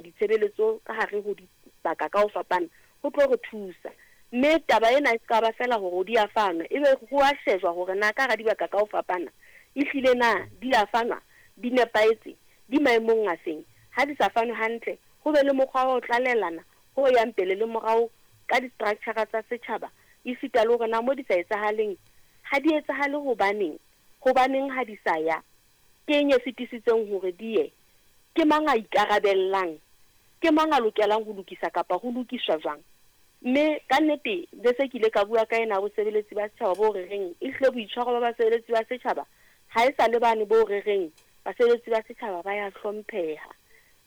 ditshebeletso ka hare ho dibaka ka ho fapana ho tlo re thusa. Mme taba ena e se ka ba feela hore di a fanwa, ebe ho a shejwa hore na ka hara dibaka ka ho fapana ehlile na di a fanwa, di nepahetse, di maemong afeng. Ha di sa fanwe hantle, ho be le mokgwa wa ho tlalelana ho yang pele le morao ka di-structure tsa setjhaba, esita le hore na mo di sa etsahaleng, ha di etsahale hobaneng, hobaneng ha di sa ya, ke eng e sitisitseng hore di ye, ke mang a ikarabellang, ke mang a lokelang ho lokisa kapa ho lokiswa jwang. Mme ka nnete be se ke ile ka bua ka ena ya bosebeletsi ba setjhaba bo re reng ehlile boitshwaro ba basebeletsi ba setjhaba ha e sa le bane bo re reng basebeletsi ba setjhaba ba ya hlompheha.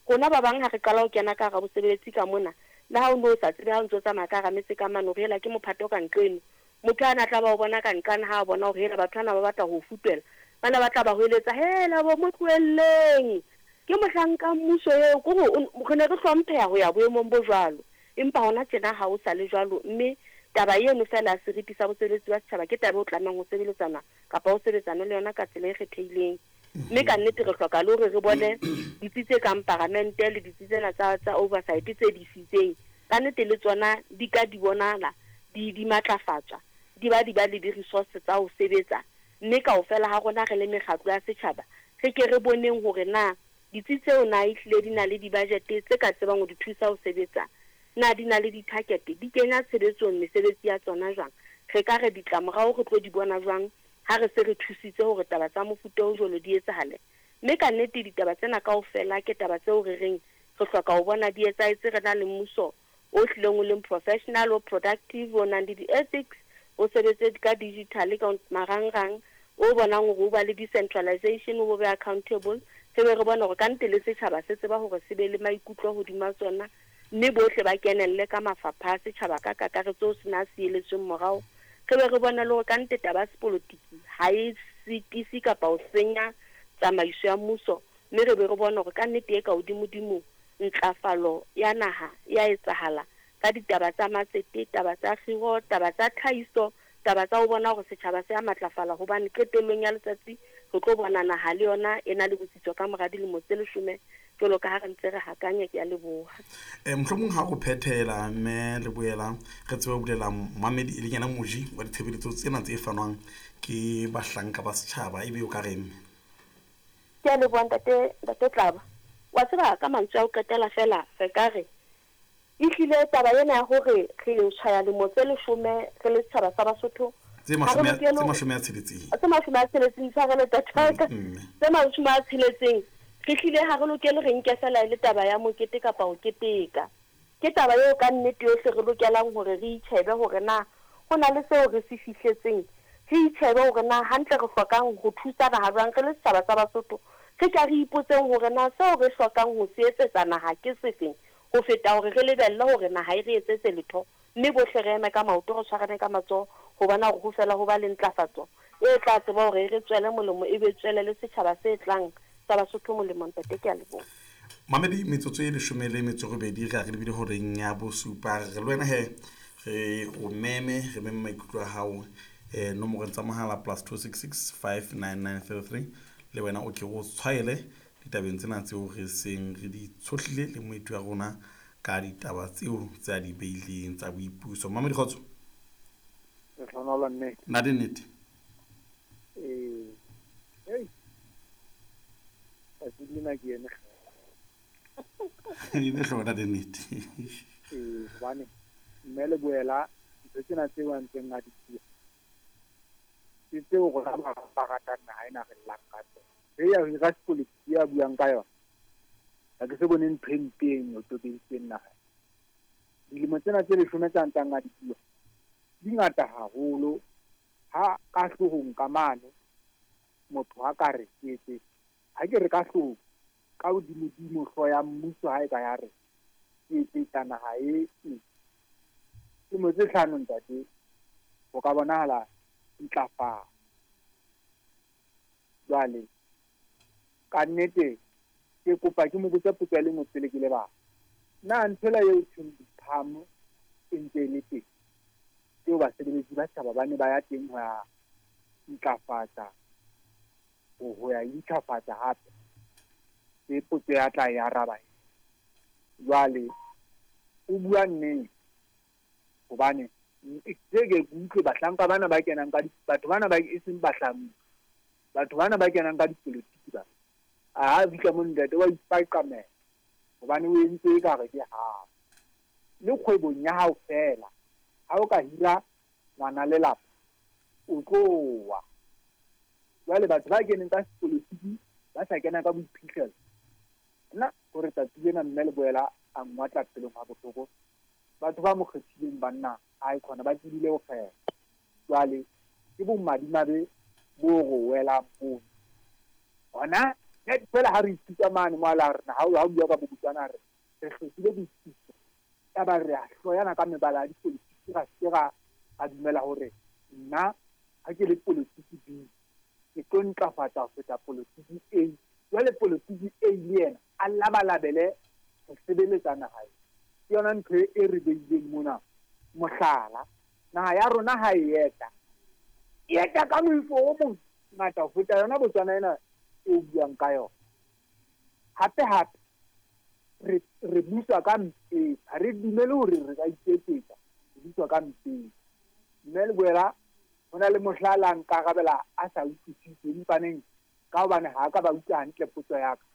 Rona ba bang ha re qala ho kena ka hara bosebeletsi ka mona, le ha o ne o sa tsebe ha o ntse o tsamaya ka hara metse ka mane hore hela ke mophato ka nqeno, motho a na tla ba o bona ka nqane ha a bona hore hela batho bana ba batla ho o futwela, ba ne ba tla ba hweletsa, Hela bo, mo tlohelleng! Ke mohlanka mmuso eo. Ke hore re ne re hlompheha ho ya boemong bo jwalo. Empa hona tjena ha ho sa le jwalo, mme taba eno feela ya seriti sa bosebeletsi ba setjhaba ke taba eo tlamehang ho sebeletsana kapa ho sebetsanwe le yona ka tsela e kgethehileng. Mme ka nnete re hloka le hore re bone ditsi tse kang paramente le ditsi tsena tsa, tsa oversight tse di isitseng, ka nnete le tsona di ka di bonahala di, di matlafatswa, di ba di ba le di-resource tsa ho sebetsa. Mme kaofela ha rona re le mekgatlo ya setjhaba re ke re boneng hore na ditsi tseo na ehlile di na le di-budget tse ka tsebang ho di thusa ho sebetsa, na di na le di-target, di kenya tshebetsong mesebetsi ya tsona jwang, re ka re ditlamorao re tlo di bona jwang ha re se re thusitse hore taba tsa mofuta o jwalo di etsahale. Mme ka nnete ditaba tsena kaofela ke taba tseo re reng re hloka ho bona di etsahetse re na le mmuso o hlileng o leng professional, o productive, o nang le di-ethics, o sebetse ka digital, ka marangrang, o bonang hore o ba le decentralization, o be accountable, re be re bone hore ka nnete le setjhaba se tseba hore se be le maikutlo hodima tsona, mme bohle ba kenelle ka mafapha a setjhaba ka kakaretso ho sena a sieletsweng morao. Re be re bone le hore ka nnete taba ya sepolotiki ha e sitise kapa ho senya tsamaiso ya mmuso, mme re be re bone hore ka nnete e ka hodimodimo ntlafalo ya naha e a etsahala ka ditaba tsa matsete, taba tsa kgiro, taba tsa tlhahiso, taba tsa ho bona hore setjhaba se a matlafala hobane qetellong ya letsatsi re tlo bona naha le yona e na le botsitso ka mora dilemo tse leshome jwalo ka ha re ntse re hakanya. Ke a leboha. Mohlomong ha o phethela mme le boela re tsebe ho bulela momamedi e leng yena moji wa ditshebeletso tsena tse fanwang ke bahlanka ba setjhaba, ebe o ka reng mme? Ke a leboha ntate, ntate Tlaba. Wa tseba ka mantswe a ho qetela feela re ka re ehlile taba ena ya hore re tshwaya lemo tse leshome re le setjhaba sa Basotho Tse ha re mashome a, lokele tse ho mashome a tsheletseng. tse mashome a tsheletseng itshwarele ntate wa ka. Mme. Tse mashome a tsheletseng re hlile ha re lokele re nke feela e le taba ya mokete kapa ho keteka. Ke taba eo ka nnete yohle re lokelang hore re itjhebe hore na ho na le seo re se fihletseng, re itjhebe hore na hantle re hlokang ho thusa naha jwang re le setjhaba sa Basotho. Re ka re ipotseng hore na seo re hlokang ho se etsetsa naha ke sefeng ho feta hore re lebelle hore naha e re etsetse letho mme bohle re eme ka maoto re tshwarane ka matsoho ho bona hore ho fela ho ba le ntlafatso e tla tseba hore e re tswele molemo e be e tswele le setjhaba se tlang sa Basotho molemo. Ntate, ke a leboha. Mamedi, metsotso e leshome le metso e robedi re a re lebile horeng ya bosupa. Re le wena he re o meme, re meme maikutlo a hao nomorong tsa mohala plus 266 59933 le wena o ke o tshwaele ditabeng tsena tseo re seng re di tshohlile le moeti wa rona ka ditaba tseo tse a di beileng tsa boipuso. Mamedi kgotso. Lehlohonolo nnete. Na di nnete? Ee. Hei. Tsatsi lena ke eme Ebe hlona di nnete. Ee, hobane mme le boela ntho tsena tseo a ntseng a di bua ke tseo rona ba ba ratang naha ena re llang ka tsona. E ya hira sepolotiki ya buang ka yona. Ha ke se bone ntho e mpe eno e tobeditseng naha. Dilemo tsena tse leshome tsa ntsang a di bua di ngata haholo ha ka hloohong ka mane motho a ka re ke etse ha ke re ka hloohong ka hodimodimo hlooho ya mmuso ha e ka ya re ke etsetsa naha e e lemo tse hlano ntate ho ka bonahala ntlafalo. Jwale ka nnete ke kopa ke mo botse potso ya le nngwe pele ke lebala. Na nthwela eo thweng diphamo e ntse e le teng tseo basebeletsi ba setjhaba ba ne ba ya teng ho ya ntlafatsa ho ya intjhafatsa hape? Ke potso ya tla e araba. Jwale o bua nnete hobane ke ke utlwe bahlanka bana ba kenang ka batho bana ba e seng bahlanka, batho bana ba kenang ka dipolotiki ba a fihla mo ntate wa ipaqamela hobane o entse ekare ke hao. Le kgwebong ya hao feela, ha o ka hira ngwana lelapa o tlo wa. Jwale batho ba keneng ka sepolotiki ba sa kena ka boiphihlelo, nna hore tsatsi lena mme Leboela a ngwatla pelong ha bohloko. Batho ba mo kgethileng banna a khona ba tsebile ho kgetha. Jwale ke bomadimabe bo re welang mono. Hona feela ha re ithuta mane mo a rena ha o bua ka bobotswana re re hlokile boitsitso, yaba re a hloyana ka mebala ya dipolotiki, ra se ra dumela hore nna ha ke le polotiki B ke tlo ntlafatsa ho feta polotiki A. Jwale polotiki A le yena a labalabele ho sebeletsa naha. Ke yona ntho e re beileng mona. Mohlala, naha ya rona ha e eta, e eta ka moifo o mongata ho feta yona Botswana ena e o buang ka yona. Hape hape re buswa ka mpeng, ha re dumele hore re ka iketsetsa, re buswa ka mpeng. Mme Leboela ho na le mohlala nkarabela a sa utlwisise empaneng ka hobane ha ka ba utlwa hantle potso ya ka.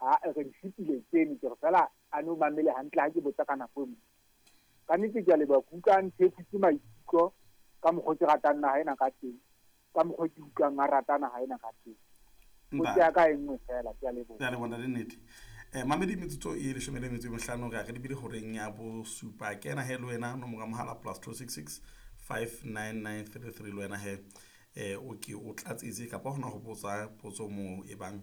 Ha re di fetile tseno ke re fela a no mamele hantle ha ke botsa ka nako e nngwe. Ka nnete ke a leboha, ke utlwa nthefutse maikutlo ka mokgwa ke ratang naha ena ka teng, ka mokgwa ke utlwang a rata naha ena ka teng. Potso ya ka e nngwe fela, ke a leboha. Ke a leboha le nnete. Mamedi metsotso e 15 re a re lebile horeng ya bosupa. Kena he le wena nomoro ya mohala +266 59933 le wena he o ke o tlatsetse kapa hona ho botsa potso moo e bang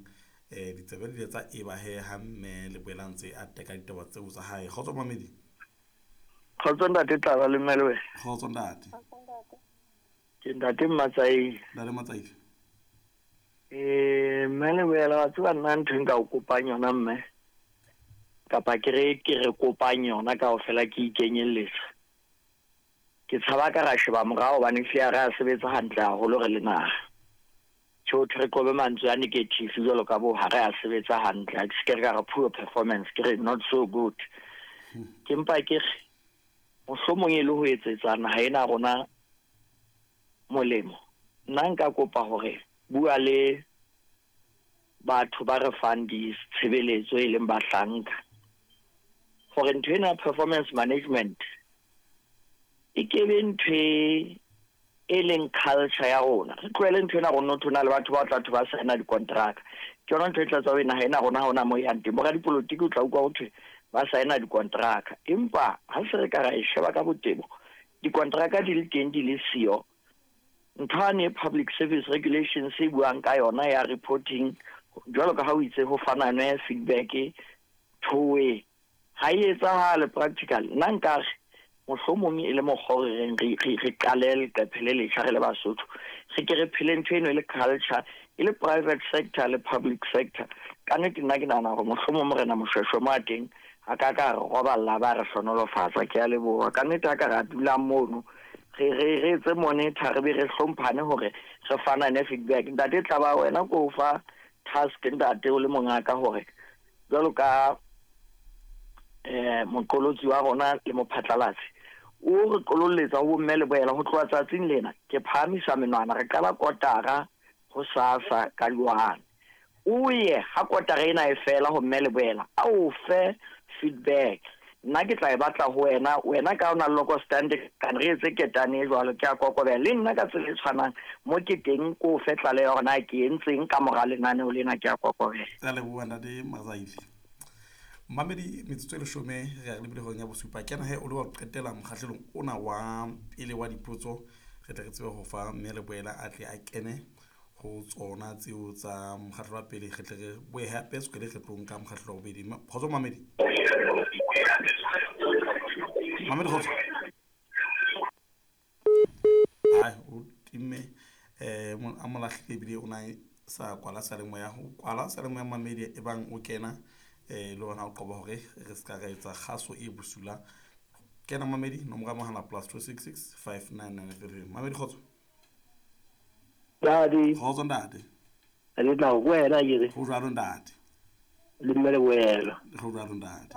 ditsebe di tsa e ba he ha mme Leboela ntse a teka ditaba tseo tsa hae. Kgotso mamedi. Kgotso ntate Tlaba le mme Leboela. Kgotso ntate. Ke ntate Matsaile. Ntate Matsaile. Mme Leboela wa tseba nna ntho e nka o kopang yona mme, kapa ke re ke re kopang yona kaofela ke ikenyelletsa. Ke tshaba ka ra sheba morao hobane ehlile ha re a sebetsa hantle haholo re le naha. Tjhe, re qobe mantswe a negative jwalo ka bo ha re a sebetsa hantle. Ha ke se ke re ka re poor performance, ke re not so good. Ke mpa ke re mohlomong e le ho etsetsa naha ena rona molemo. Nna nka kopa hore bua le batho ba re fang ditshebeletso e leng bahlanka hore ntho ena performance management e ke be ntho e leng culture ya rona. Re tlohele ntho ena rona ho na le batho ba tla thwe ba signa dikontraka. Ke yona ntho e tla tswa ho naha ena rona ha hona moo e yang teng. Boradipolotiki o tla utlwa ho thwe ba signa dikontraka, empa ha se re ka ra e sheba ka botebo, dikontraka di le teng di le siyo. Ntho ane public service regulations e buang ka yona ya reporting, jwalo ka ha o itse ho fananwe feedback thowe ha e etsahale practical. Nna nkare mohlomong e le mokgwa o re reng re qale leqephe le letjha re le Basotho, re ke re phele ntho eno e le culture, e le private sector le public sector. Ka nnete nna ke nahana hore mohlomong Morena Moshweshwe mo a teng a ka ka re roballa ba re hlonolofatsa. Ke a leboha. Ka nnete ha ka ra dula mono re etse monitor, re be re hlomphane hore re fanane feedback. Ntate Tlaba wena ko fa task ntate o le mongaka hore jwalo ka moqolotsi wa rona le mophatlalatsi o re qololletsa ho bomme Leboela ho tloha tsatsing lena ke phahamisa menwana, re qala kotara ho sasa ka jwang. O ye ha kotara ena e fela ho mme Leboela a o fe feedback. Nna ke tla e batla ho wena, wena ka ona loko stand kan re etse ketane e jwalo, ke a kokobela le nna ka tsela e tshwanang mo ke teng ko fe tlaleho hore na ke entseng ka mora lenaneo lena, ke a kokobela. Ke a leboha ntate Matsaile. Mamedi metsotso e 10 re a lebile horeng ya bosupa. Kena he o le wa qetela mokgahlelong ona wa pele wa dipotso, re tle re tsebe ho fa mme Leboela a tle a kene ho tsona tseo tsa mokgahlelo wa pele, re tle re boe hape se re tlo nka mokgahlelo wa bobedi. Kgotso mamedi. Mamedi kgotso. Ai o timme a mo lahlile ebile o na sa kwala seyalemoya, ho kwala seyalemoya mamedi e bang o kena le hona o qoba hore re se ka ra etsa kgaso e bosula. Kena mamedi nomoro ya mohala +266 59933. Mamedi kgotso. Ntate. Kgotso ntate. Le tla ho wena ke re. Ho jwalo ntate. Le mme Leboela. Ho jwalo ntate.